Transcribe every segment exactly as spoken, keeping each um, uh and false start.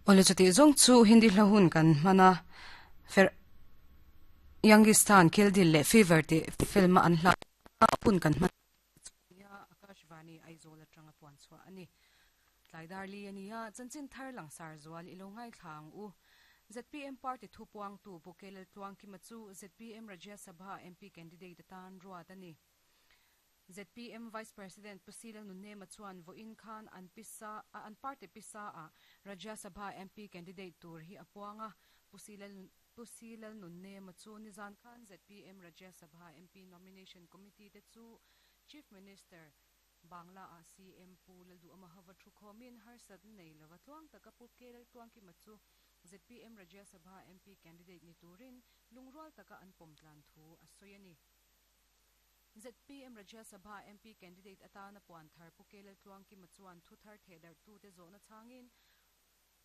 Ole chuti zong chu Hindi hla hun kan hmana fer Youngistan Kill Dil le Fever te film an hla hun kan hman ya Akashvani Aizawl atanga puan chhuah ani tlaidar li ania chanchin thar langsar zual ilo ngai thlang u ZPM party thu puang tu Bukelel tluang ki ma chu ZPM Rajya Sabha MP candidate tan ruat ani ZPM Vice President Pusila Nunne Machuan vo in khan an pisa an party pisa a Rajya Sabha MP candidate tur hi apuanga Pusila Pusila Nunne Machu nizan khan ZPM Rajya Sabha MP nomination committee te chu Chief Minister Bangla a CM Pu Laldu Amahava thu khomin harsat nei lova tluang taka pu kelal tluang ki machu ZPM Rajya Sabha MP candidate ni turin lungrual taka an pomtlan thu a soyani ZPM Rajya Sabha MP candidate atana puan thar pu kelal tluang ki machuan thu thar thedar tu te zona changin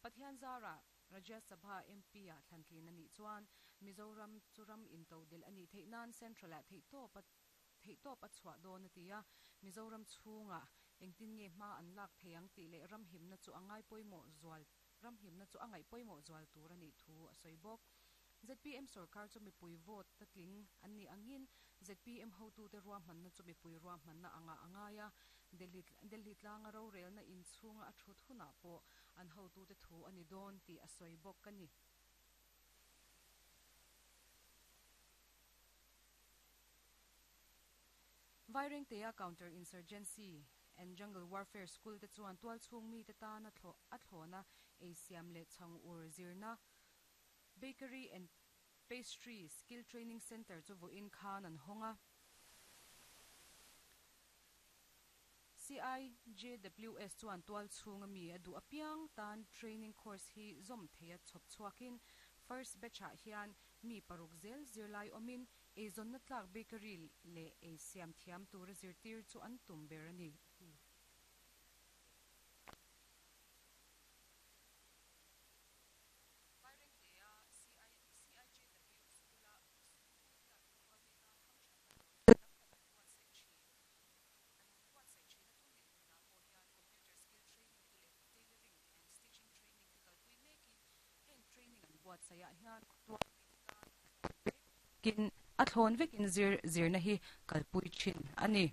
Pathian Zara Rajya Sabha MP a thlantlin ani chuan Mizoram churam into del ani theinan central a thei to pa thei to pa chhuah dawn atia Mizoram chhunga engtin nge hma an lak theiang ti le ram himna chu angai poimo zual ram himna chu angai poimo zual tur ani thu a soibok ZPM sarkar chu mipui vote tatling anni angin ZPM hotu te ruam manna chu mipui ruam manna anga angaya Delhi Delhi tlanga ro rel na in chhunga a thu thuna po an hotu te thu ani don ti a soibok kani Vaireng te counter insurgency and jungle warfare school te chuan tual chung mi te ta na thlo a thlona asiam le chang ur zirna bakery and pastry skill training center chu vo in khan an honga CIJWS chuan tual chunga mi adu apiang tan training course hi zom theia chop chuakin first batch a hian mi paruk zel zirlai omin ezon na tlak bakery le asiam thiam tur zirtir chu an tum berani kin a thlon vekin zir zirna hi kalpui thin ani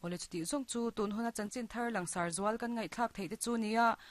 ole chuti zong chu tun huna chanchin thar langsar zual kan ngai thlak thei te chu nia